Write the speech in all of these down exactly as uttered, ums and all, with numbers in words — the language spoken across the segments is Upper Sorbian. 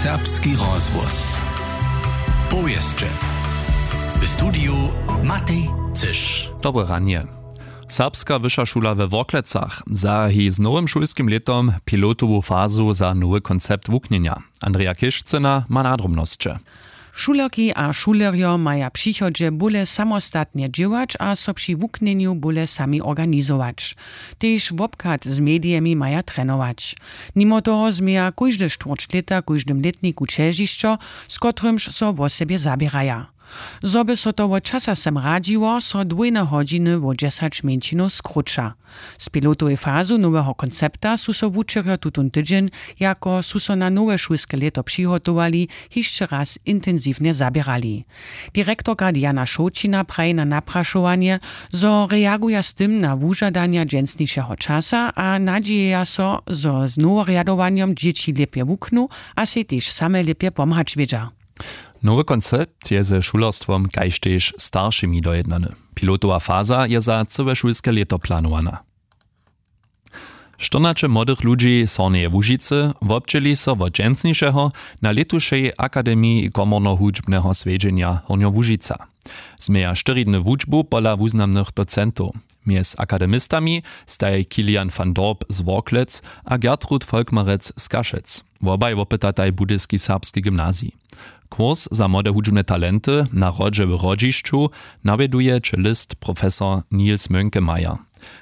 Serbski rozhłos. Powěsće. W studiju Matej Cyš. Dobre ranje. Serbska wyša šula we Worklecach zahaji z nowym šulskim lětom pilotowu fazu za nowy koncept wuknjenja. Andreja Kišcyna ma nadrobnosće. Šulerki a šulerjo maja w přichodźe bóle samostatnje dźěłać a so při wuknjenju bóle sami organizować. Tež wobchad z medijemi maja trenować. Nimo toho změja kóžde štwórć lěta w kóždym lětniku ćežišćo, z kotrymž so wosebje zaběraja. Zo by so to wot časa sem radźiło, so dwójne hodźiny wo dźesać mjeńšinow skróća. Z pilotowej fazu noweho koncepta su so wučerjo tutón tydźeń, jako su so na nowe šulske lěto přihotowali, hišće raz intensiwnje zaběrali. Direktorka Diana Šołćina praji na naprašowanje, zo reaguja z tym na wužadanja dźensnišeho časa a nadźijeja so, zo z noworjadowanjom dźěći lěpje wuknu a sej tež same lěpje pomhać wědźa. Nowy koncept je ze šulerstwom kaž tež staršimi dojednany. Pilotowa faza je za cyłe šulske lěto planowana. Štyrnaće młodych ludźi z Hornjeje Łužicy wobdźěli so wot dźensnišeho na lětušej Akademiji komornohudźbneho swjedźenja Hornjołužica. Změja štyri dny wučbu pola wuznamnych docentow. Mjez akademistami staj Kilian van Dorp z Worklec a Gertrud Volkmarec z Kašec. Wobaj wopytataj Budyski serbski gymnazij. Kurs za młode hudźbne talenty na hrodźe w Hrodźišću nawjeduje čelist profesor Niels Mönkemeyer.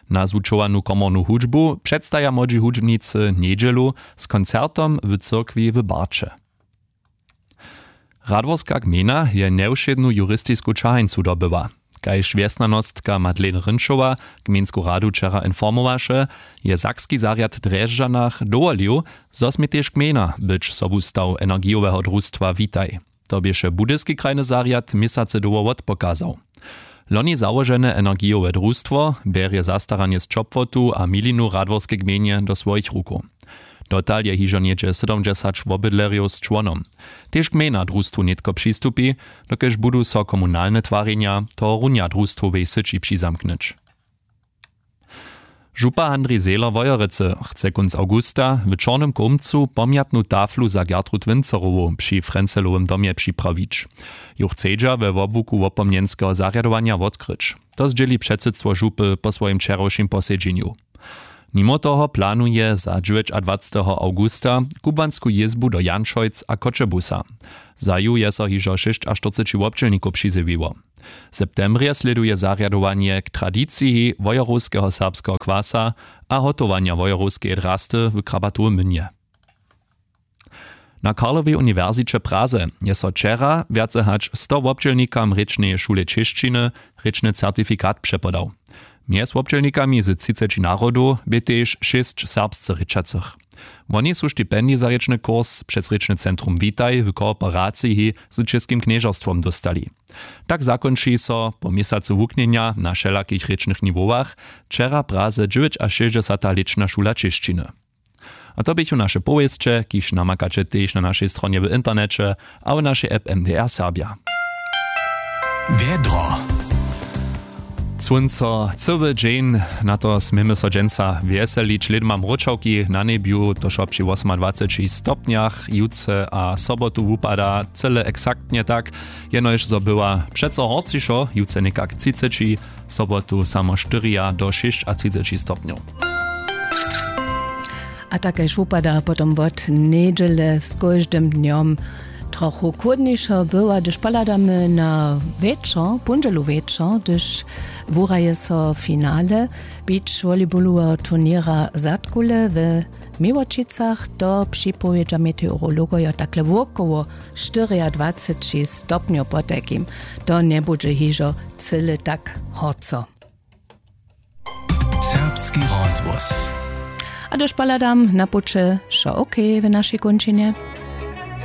Nazwučowanu komornu hudźbu předstaja młodźi hudźbnicy njedźelu z koncertom w cyrkwi w Barće. Radworska gmejna je njewšědnu juristisku ćahańcu dobyła. Kaž wjesnjanostka Madeleine Rynčowa gmejnsku radu wčera informowaše, je sakski zarjad w Drježdźanach dowolił, zo smě tež gmejna być sobustaw energijoweho drustwa Witaj. To běše Budyski krajny zarjad měsacy dołho wotpokazał. Loni załožene energijowe drustwo bjerje zastaranje z ćopłotu a milinu w Radworskej gmejnje do swojich rukow. Dotal je hižo něhdźe sydomdźesać wobydlerjow z čłonom. Tež gmejna drustwu nětko přistupi, dokelž budu so komunalne twarjenja tohorunja drustwowej syći přizamknyć. Župa Handrij Zehler Wojerecy chce kónc awgusta w Čornym Kołmcu pomjatnu taflu za Gertrud Wincerowu při Frencelowym domje připrawić. Ju chcedźa we wobłuku wopomnjenskeho zarjadowanja wotkryć. To zdźěli předsydstwo župy po swojim wčerawšim posedźenju. Nimo toho planuje za dźewjećadwaceteho awgusta kubłansku jězbu do Janšojc a Choćebuza. Za ju je so hižo šěsćaštyrceći wobdźělnikow přizjewiło. W septembrje slěduje zarjadowanje k tradiciji wojerowskeho serbskeho kwasa a hotowanja wojerowskeje drasty w Krabatowym Mynje. Na Karlowej uniwersiće w Praze je so wčera wjace hač sto wobdźělnikam rěčneje šule čěšćiny rěčny certifikat přepodał. Mjez wobdźělnikami z třiceći narodow bě tež šěsć serbsce rěčacych. Woni su stipendij za rěčny kurs přez rěčny centrum Witaj w kooperaciji z Čěskim knježerstwom dóstali. Tak zakónči so po měsacu wuknjenja na wšelakich rěčnych niwowach wčera w Praze dźewjećašěsćdźesata lěčna šula čěšćiny. A to běchu naše powěsće, kiž namakaće tež na našej stronje w interneće a w našej app M D R Serbja. Wjedro. Słónco cyły dźeń, na to směmy so dźensa wjeselić. Lědma mróčawki na njebju, to wšo při wosomadwaceći stopnjach. Jutře a sobotu wupada cyle eksaktnje tak, jenož zo była přeco horcišo, jutře někak třiceći, sobotu samo štyria do šěsćatřiceći stopnjow. A tak kaž wupada potom wot njedźele z kóždym dnjom trochu chłódnišo. Była, hdyž pohladamy na wječor, póndźelu wječor, hdyž wuraje so finale beach volleyballoweho turněra Zadkule we Měłočicach, to připowědźa meteorologojo takle wokoło štyriadwaceći stopnjow potajkim. To njebudźe hižo cyle tak horco. Serbski rozhłos. A hdyž pohladam na puće, wšo ok w našej kónčinje.